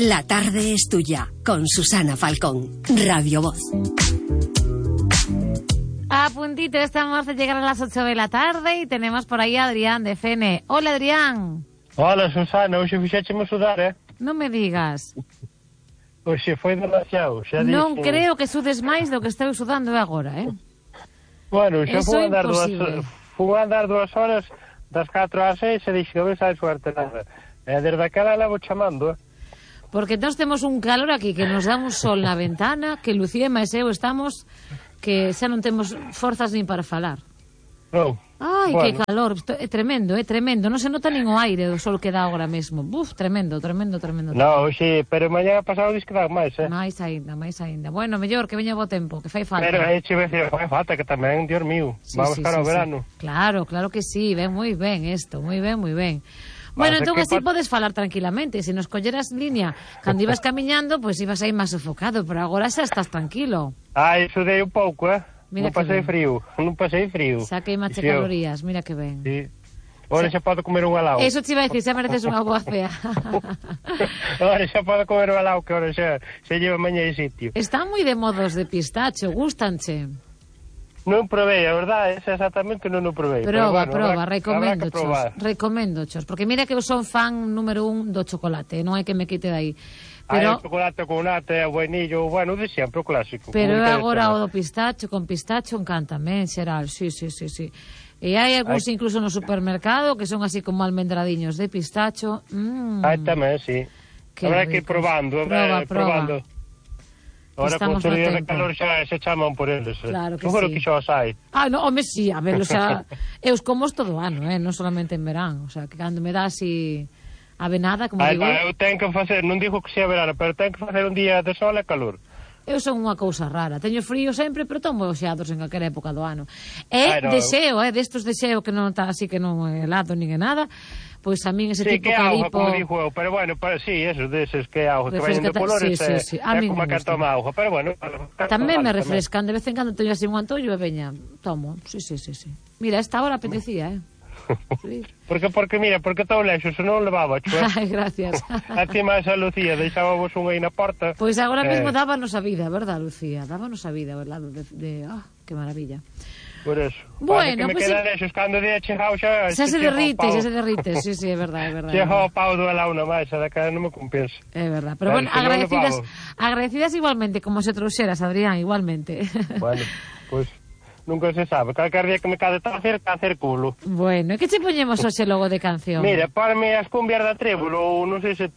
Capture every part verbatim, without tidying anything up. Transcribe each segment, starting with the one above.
La tarde es tuya, con Susana Falcón, Radio Voz. A puntito estamos de llegar a las ocho de la tarde y tenemos por ahí a Adrián de F N. Hola, Adrián. Hola, Susana, hoxe fixécheme sudar, eh? Non me digas. Hoxe foi demasiado, xa dixen. Non creo que sudes máis do que estou sudando agora, eh? Bueno, xa Eso fui a andar dúas, imposible. fui a andar dúas horas, das catro ás seis, e dixen, a ver se hai suerte nada. E desde aquela levo chamando, eh? Porque nós temos un calor aquí que nos dá un sol na ventana, que Lucía e máis eu estamos que xa non temos forzas nin para falar. Non. Ai, bueno. que calor, Esto é tremendo, é tremendo, non se nota nin o aire do sol que dá agora mesmo. Buf, tremendo, tremendo, tremendo. No, hoxe, pero mañá pasado dis que dá máis, eh? Máis aínda, máis aínda. Bueno, mellor que veña bo tempo, que fai falta. Pero aí che decía, fai falta que tamén, Dios mío, Sí, vamos sí, cara ao sí, verano. sí. Claro, claro que sí, ven moi ben isto, moi ben, moi ben. Bueno, Pasa entón que así pa- podes falar tranquilamente. Se nos colleras línea cando ibas camiñando, pois pues ibas aí máis sofocado, pero agora xa estás tranquilo. Ai, sudei un pouco, eh? Mira non que pasei ben. frío, non pasei frío. Saquei mache Sí, eu- calorías, mira que ben. Sí. Ora xa podo comer un helado. Eso te iba a decir, xa mereces unha boa cea. Ora xa podo comer un helado, que ora xa se lleva mañá de sitio. Están moi de modos de pistacho, gustanche. Non probei, a verdade, ese exactamente non o probei. pero Proba, bueno, proba, habrá- recomendo, habrá que probar. chos. Recomendo, chos. Porque mira que eu son fan número un do chocolate, non hai que me quite de aí. Hai Pero, o chocolate con nata, o vainillo, bueno, de sempre, o clásico. pero como agora o interesa. do pistacho, con pistacho encántame, en xeral, sí, sí, sí, sí. E hai algúns Hai- incluso no supermercado que son así como almendradiños de pistacho. Mm, Hai tamén, sí. qué Habrá que ir ricos. probando, Proba, eh, proba. probando. Ahora con Estamos os no días de tempo. calor xa se chaman por eles. eh. Claro que Seguro sí. que xa os hai. Ah, no, home, sí, a ver, o sea, eu os como todo o ano, eh, non solamente en verán, o sea, que cando me dá así avenada, como Ai, digo, va, eu tenho que facer, non digo que sea verano, pero tenho que facer un día de sol e calor. eu son unha cousa rara, teño frío sempre, pero tomo xeados en calquera época do ano. E Ai, no. deseo, eh, destos deseo que non está así que non é helado nin é nada, pois a min ese Sí, tipo que auga, calipo... como dixo eu, pero bueno, para, sí, eso, deses que auga, que veñen de Refrescata- colores, sí, sí, é, sí, a é min como me que gusta. toma auga, pero bueno, Tamén me vale, refrescan, de vez en cando teño así un antollo e veña, tomo, sí, sí, sí, sí. Mira, esta hora apetecía, eh. Sí. Porque, porque, mira, porque tão lexo, se non levaba, chua. Ai, gracias. A ti máis a Lucía, deixábamos un aí na porta. Pois agora Eh, mesmo dábanos a vida, verdad, Lucía? Dábanos a vida ao lado de... de ah, que maravilla. Por eso. Bueno, Pasa que me pues queda sí. lexos, cando día chegao xa... Xa se chega o derrite, pau. xa se derrite, sí, sí, é verdade, é verdade. Chega o pau do helado na máis, a da cara non me compensa. É verdade, pero Claro, bueno, se non agradecidas, levamos. agradecidas igualmente, como se trouxeras, Adrián, igualmente. Bueno, pois... Pues, nunca se sabe. Calcar día que me cade tacer, tacer culo. Bueno, e que che poñemos hoxe logo de canción? Mira, parme as cumbias da trébol, ou non sei se,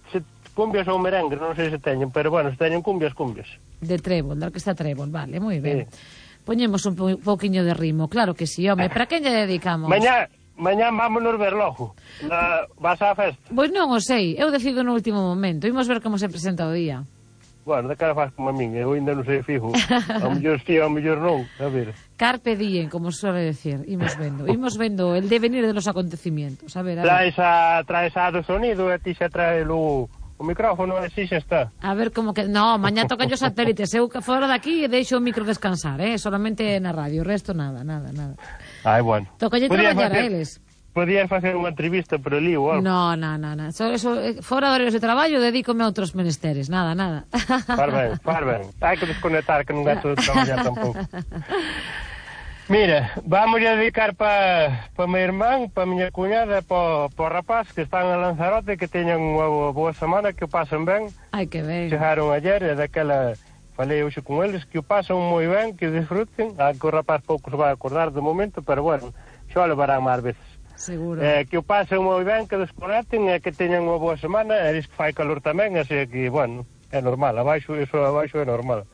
se cumbias ou merengue, non sei se teñen, pero bueno, se teñen cumbias, cumbias. De trébol, da orquesta trébol, vale, moi ben. Sí. Poñemos un po pouquiño de ritmo, claro que sí, home, para quen lle dedicamos? Mañá, mañá vámonos ver logo. Na, vas á festa? Pois non o sei, eu decido no último momento, imos ver como se presenta o día. Bueno, de cara faz como a min, eu ainda non sei fijo. Ao mellor sí, ao mellor non. A ver. Carpe diem, como suele decir, imos vendo, imos vendo el devenir de los acontecimientos, a ver, a ver. Traes a, traes a do sonido e ti xa trae o, o micrófono e si xa está. A ver como que... No, mañá tocan os satélites. Eu que fora daqui e deixo o micro descansar, eh? Solamente na radio, o resto nada, nada, nada. Ai, bueno. Tocalle Podías traballar a facer- eles. Podías facer unha entrevista por ali ou algo. No, no, no, no. So, eso, eh, fora de horarios de traballo, dedícome a outros menesteres. Nada, nada. Far ben, far ben. Hai que desconectar, que non gasto de traballar tampouco. Mira, vamos a dedicar para pa mi irmán, para miña cuñada, para pa rapaz que están a Lanzarote, que teñan unha boa semana, que o pasen ben. Ai, que ben. Chegaron ayer e daquela falei hoxe con eles, que o pasan moi ben, que disfruten. A que o rapaz pouco se vai acordar de momento, pero bueno, xa o levarán máis veces. Seguro. Eh, que o pasen moi ben, que desconecten e que teñan unha boa semana, e diz que fai calor tamén, así que, bueno, é normal, abaixo, iso abaixo é normal.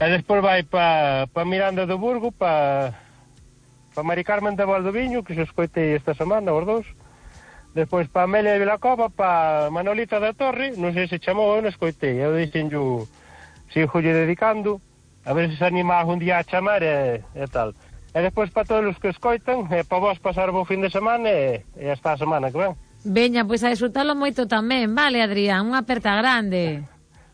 E despois vai pa, pa Miranda do Burgo, pa, pa Mari Carmen de Valdoviño, que se escoitei esta semana, os dous. Despois pa Amelia de Vilacova, pa Manolita da Torre, non sei se chamou, eu non escoitei, eu dixenllo, sigo lle dedicando, a ver se se anima un día a chamar e, e tal. E despois para todos os que escoitan, e para vos pasar bo fin de semana e, e hasta a semana que ven. Veña, pois a disfrutalo moito tamén, vale, Adrián? Unha aperta grande.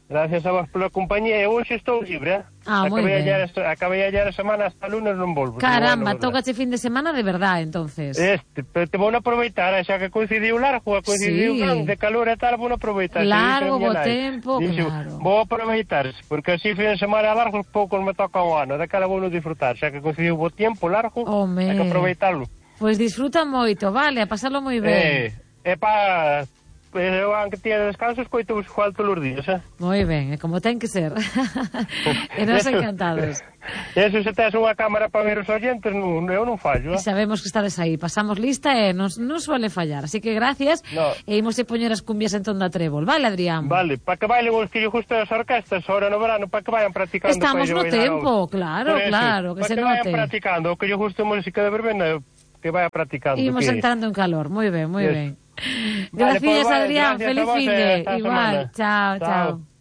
Gracias a vos pola compañía. Eu hoxe estou libre, eh? Ah, moi ben. Ayer, acabei ayer a semana hasta lunes non volvo. Caramba, bueno, tocache fin de semana de verdad, entonces. Este, pero te vou a aproveitar, xa que coincidiu largo, coincidiu sí. de calor e tal, vou a aproveitar. Largo, bo tempo, Dixo, claro. Vou aproveitar, porque así fin de semana largo poucos me toca o ano, daquela vou non disfrutar, xa que coincidiu bo tempo largo, Home. hai que aproveitarlo. Pois disfruta moito, vale, a pasarlo moi ben. Eh, é pa... Eu, aunque tiene descanso, escoito vos igual todos os días, eh? Moi ben, é como ten que ser. E nos encantados. Eso, se tes unha cámara para ver os oyentes, non, eu non fallo, eh? E sabemos que estades aí, pasamos lista e non, non suele fallar. Así que gracias, no. E imos a poñer as cumbias en Tonda Trébol. Vale, Adrián? Vale, para que bailen os fillos justo das orquestas, ahora no verano, para que vayan practicando. Estamos no tempo, claro, eso, claro, que se note. Para que vayan practicando, o que yo justo música de verbena, que vaya practicando. Imos que... entrando en calor, moi ben, moi yes. ben. Vale, gracias, pues, vale, Adrián, gracias feliz fin de. Igual, semana. chao, chao. chao.